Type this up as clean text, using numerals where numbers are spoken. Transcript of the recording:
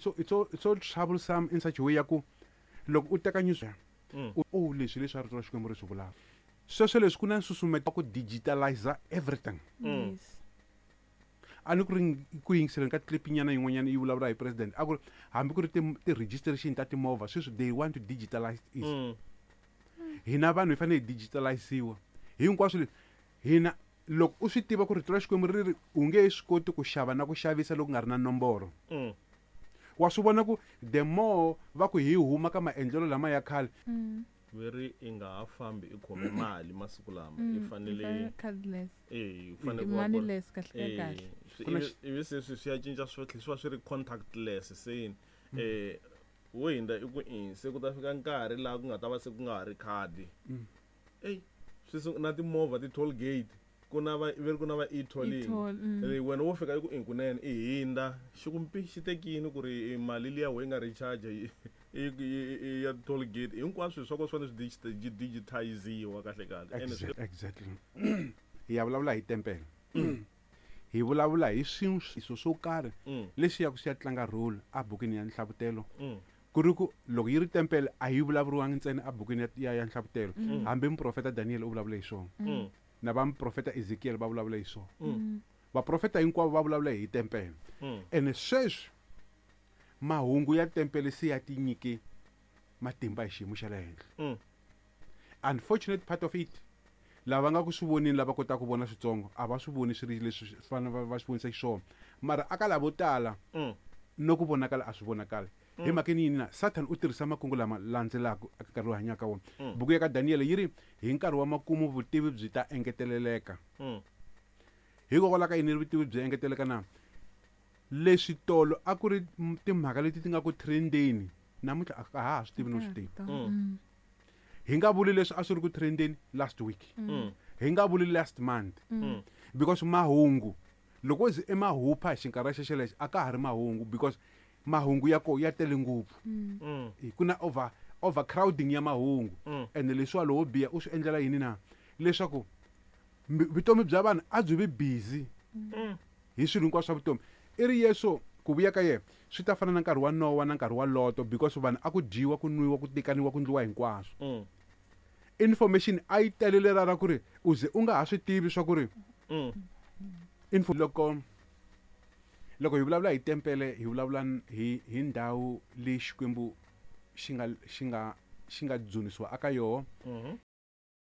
So it's so troublesome in such a way ya ku loko u teka news, o leswi leswi a rito ra Xikwembu ri swi vulaka sweswo, leswi ku na nsusumeto wa ku digitalize everything. A ni ku ri ku yingiseleni ka clip nyana yin'wanyana yi vulavula hi president, a ku ri hambi ku ri ti-registration ta timovha sweswi they want to digitalize it. Hina vanhu hi fanele hi digitaliziwa hinkwaswo leswi. Hina loko u swi tiva ku rito ra Xikwembu ri ri u nge swi koti ku xava na ku xavisa loko ku nga ri na nomboro, wa swi vona ku the more va ku hi huma ka maendlelo lama ya khale. Ve ri i nga ha fambi i khome mali masiku lama, i fanele Cardless. Eh, u fanele ku va ku ri- Moneyless kahle. Kahle. Ku na Ivi se swi ya cinca, swi tlhela swi va swi ri contactless se wo hindza i ku i se ku ta fika nkarhi laha ku nga ta va se ku nga ha ri khadi. Ey, swi na timovha, ti-toll gate, ku na va ve ri ku na va e-tolling. E-toll. Wena wo fika i ku i kunene i hindza xi ku mpi xi tekini ku ri mali liya we nga recharge i ya toll gate. Hinkwaswo swa ko swi fanele swi digitiziwa kahle kahle. Ene Exactly, hi ya vulavula hi tempele, hi vulavula hi swilo swo karhi leswi yaku swi ya tlanga role abukweni ya Nhlavutelo. Ku ri ku loko yi ri tempele, a yi vulavuriwangi ntsena abukweni ya Nhlavutelo. Hambi muprofeta Daniel u vulavula hi swona, na va muprofeta Ezekiel va vulavula hi swona, vaprofeta hinkwavo va vulavula hi tempele. Ene sweswi mahungu ya tempele se ya tinyike matimba hi xiyimo xa le henhla. Unfortunate part of it, lava nga ku swi vonini, lava kotaka ku vona switsongo, a va swi voni swi ri leswi swi fanele va swi vonisa xiswona, mara aka lavo tala no ku vonakala a swi vonakali. Hi mhakeni yini na Satan u tirhisa makungu lama landzelaka eka nkarhi lowu hanyaka wona? Buku ya ka Daniel yi ri hi nkarhi wa makumu vutivi byi ta engeteleleka. Hikokwalaho ka yini vutivi byi engeteleka na leswi tolo a ku ri timhaka leti ti nga ku trendeni, namuntlha a ha ha swi tivi no swi tivi? Hi nga vuli leswi a swi ri ku trendeni last week, hi nga vuli last month, because mahungu loko ze i mahupha hi xinkarhi xexelexo, a ka ha ri mahungu, because mahungu ya ko ya tele ngopfu. Ku na overcrowding ya mahungu. Ene leswiwa lowo biha u swi endlela yini na? Leswaku vutomi bya vanhu a byi vi busy hi swilo hinkwaswo swa vutomi. I ri Yesu ku vuya ka yena swi ta fana na nkarhi wa Nowa na nkarhi wa Loto, because vanhu a ku dyiwa, ku nwiwa, ku tekaniwa, ku ndliwa hinkwaswo. Information a yi telele ra ku ri u ze u nga ha swi tivi swa ku ri info. Loko hi vulavula hi tempele, hi vulavula hi ndhawu leyi Xikwembu xi nga dzunisiwa aka yoho.